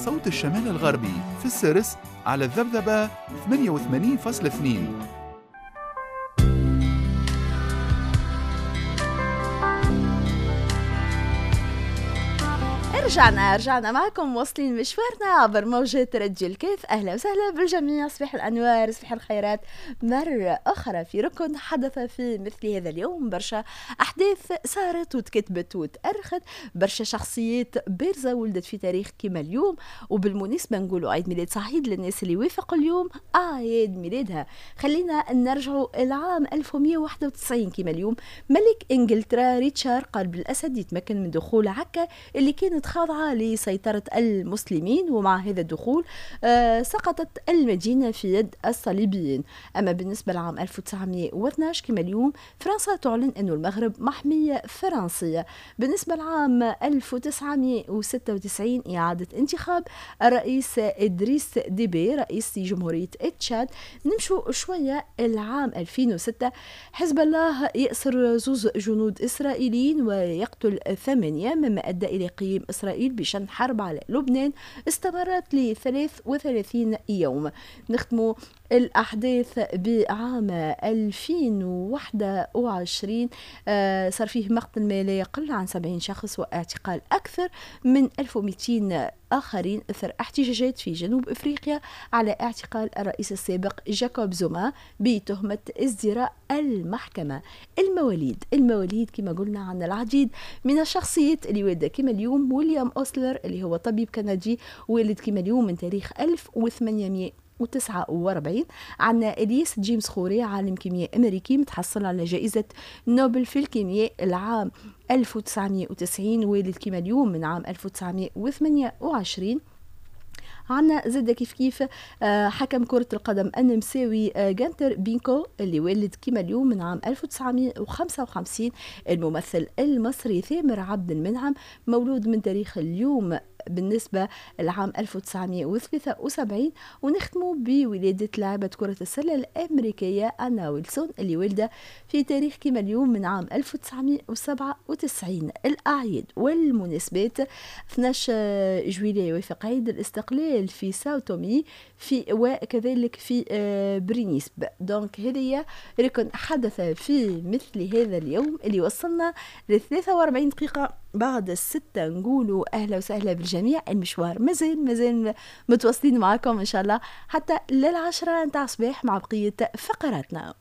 صوت الشمال الغربي في السرس على الذبذبة 88.2. رجعنا معكم، واصلين مشوارنا عبر موجة راديو الكاف. أهلا وسهلا بالجميع، صباح الأنوار، صباح الخيرات. مرة أخرى في ركن حدث في مثل هذا اليوم، برشا أحداث صارت وتكتبت وتأرخت، برشا شخصيات بارزة ولدت في تاريخ كما اليوم. وبالمناسبة نقولوا عيد ميلاد سعيد للناس اللي وافقوا اليوم أعياد ميلادها. خلينا نرجعوا العام 1191 كما اليوم، ملك إنجلترا ريتشارد قلب الأسد يتمكن من دخول عكا اللي كانت خاضعة لسيطرة المسلمين، ومع هذا الدخول سقطت المدينة في يد الصليبيين. أما بالنسبة لعام 1912 كما اليوم، فرنسا تعلن أن المغرب محمية فرنسية. بالنسبة لعام 1996 إعادة انتخاب الرئيس إدريس ديبي رئيس جمهورية تشاد. نمشوا شوية العام 2006، حزب الله يأسر زوز جنود إسرائيليين ويقتل 8، مما أدى إلى قيام إسرائيل بشن حرب على لبنان استمرت ل 33 يوم. نختم الأحداث بعام 2021، صار فيه مقتل ما لا يقل عن 70 شخص واعتقال أكثر من 1200 آخرين إثر احتجاجات في جنوب أفريقيا على اعتقال الرئيس السابق جاكوب زوما بتهمة ازدراء المحكمة. المواليد كما قلنا عن العديد من الشخصيات اللي والدة كما اليوم. ويليام أوسلر اللي هو طبيب كندي والد كما اليوم من تاريخ 1849. عندنا إليس جيمس خوري عالم كيمياء أمريكي متحصل على جائزة نوبل في الكيمياء العام 1990، والد كما اليوم من عام 1928. عندنا زاد كيف كيف حكم كرة القدم النمساوي جانتر بينكو اللي والد كما اليوم من عام 1955. الممثل المصري ثامر عبد المنعم مولود من تاريخ اليوم بالنسبة لعام 1973. ونختموا بولادة لاعبة كرة السلة الأمريكية أنا ويلسون اللي والدة في تاريخ كما اليوم من عام 1997. الأعياد والمناسبات: 12 جويلية يوافق عيد الاستقلال في ساوتومي في وكذلك في برينيسب. donc هذه ركن حدث في مثل هذا اليوم اللي وصلنا ل 43 دقيقة بعد الستة. نقولوا أهلا وسهلا بالجميع، المشوار مازال متواصلين معاكم إن شاء الله حتى للعشرة نتاع الصباح مع بقية فقراتنا.